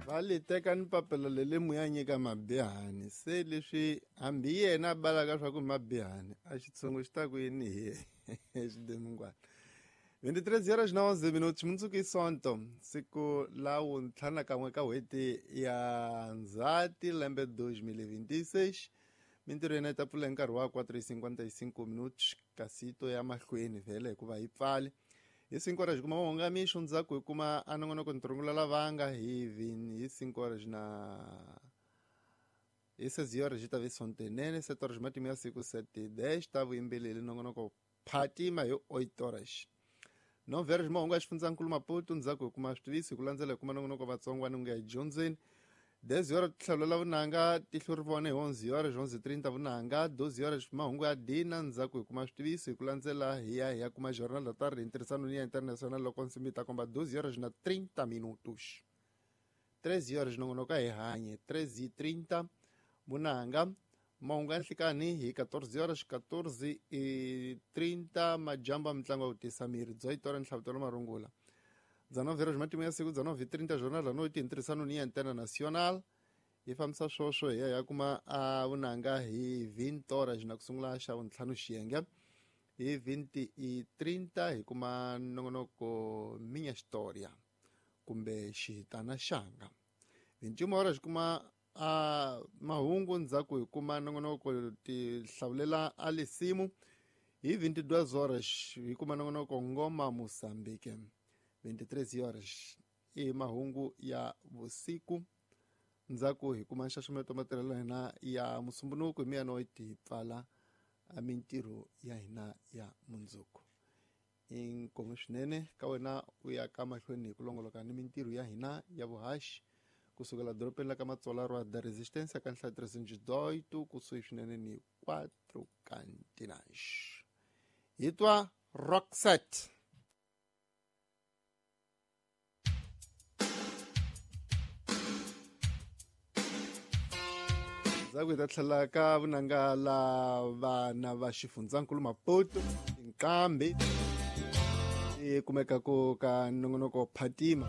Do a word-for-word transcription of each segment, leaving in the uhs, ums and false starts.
Va li teka ni papila leli mu ya nyika mabihani se leswi hambi yena a balaka swa ku mabihani a xitshungu xi ta ku yini hi yena xidemungwana veintitrês horas na onze minutos mundzuku i sonto siku la wuntlhanu kan'we ka n'hweti ya ndzhati lembe dois mil e vinte e seis mintirho yena yi ta pfula hi nkarhi wa quatro e cinquenta e cinco minutos kasi to ya mahlweni vhele hikuva yi pfali hi cinco horas kuma mahungu mixo ndzhaku hi kuma a nongonoko ntirhongula lavanga hi hi cinco horas na hi seis horas yi ta ve sontenene sete horas matimu ya siku sete dez ta vuyimbeleri nongonoko phatima hi oito horas nove horas mahungu ya xifundzankulu Maputo ndzhaku hi kuma switiviso hi ku landzela hi kuma nongonoko vatsongwana u nga hi dyondzeni dez horas tlhelo la vunanga tihlo ri vona hi onze horas onze trinta vunanga doze horas mahungu ya dina ndzhaku hi kuma switiviso hi ku landzela hi ya hi ya kuma jornal da tarde ntirhisano ni ya international loko nsimbi yi ta komba doze horas na trinta minutos treze horas nongonoko hi hanye treze e trinta vunanga mahungu ya nhlikani hi quatorze horas quatorze e trinta majambu ya mitlangu ya ku tisa miri dezoito horas nhlavutelo marungula dezenove horas matimu ya siku dezenove e trinta jornal da noite ntirhisano ni ya antena nacional yi fambisa swoswo hi ya ya kuma a vunanga hi vinte horas na ku sungula xa vuntlhanu xiyenge hi vinte e trinta hi kuma nongonoko minha história kumbe xihitana xanga vinte e uma horas kuma a mahungu ndzhaku hi kuma nongonoko tihlawulela a lisimu hi vinte e duas horas hi kuma nongonoko ngoma Moçambique vinte e três horas i mahungu ya vusiku ndzhaku hi kuma nxaxameto matirhelo ya hina ya musumbunuku hi meia-noite hi pfala mintirho ya hina ya mundzuku inkomu swinene ka wena u ya ka mahlweni hi ku longoloka ni mintirho ya hina ya vuhaxi kusukela dorobeni la ka Matsola Rua da Resistência ka nhlayo trezentos e dezoito kusuhi swinene ni quatro Cantinas hi twa Roxette. Ndzhaku hi ta tlhela ka vunanga la vana va xifundzankulu Maputo tinqambi ti kumekaka ka nongonoko Phatima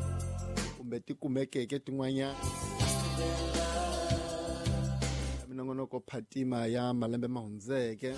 kumbe ti kumekeke tin'wanyana minongonoko Phatima ya malembe ma hundzeke.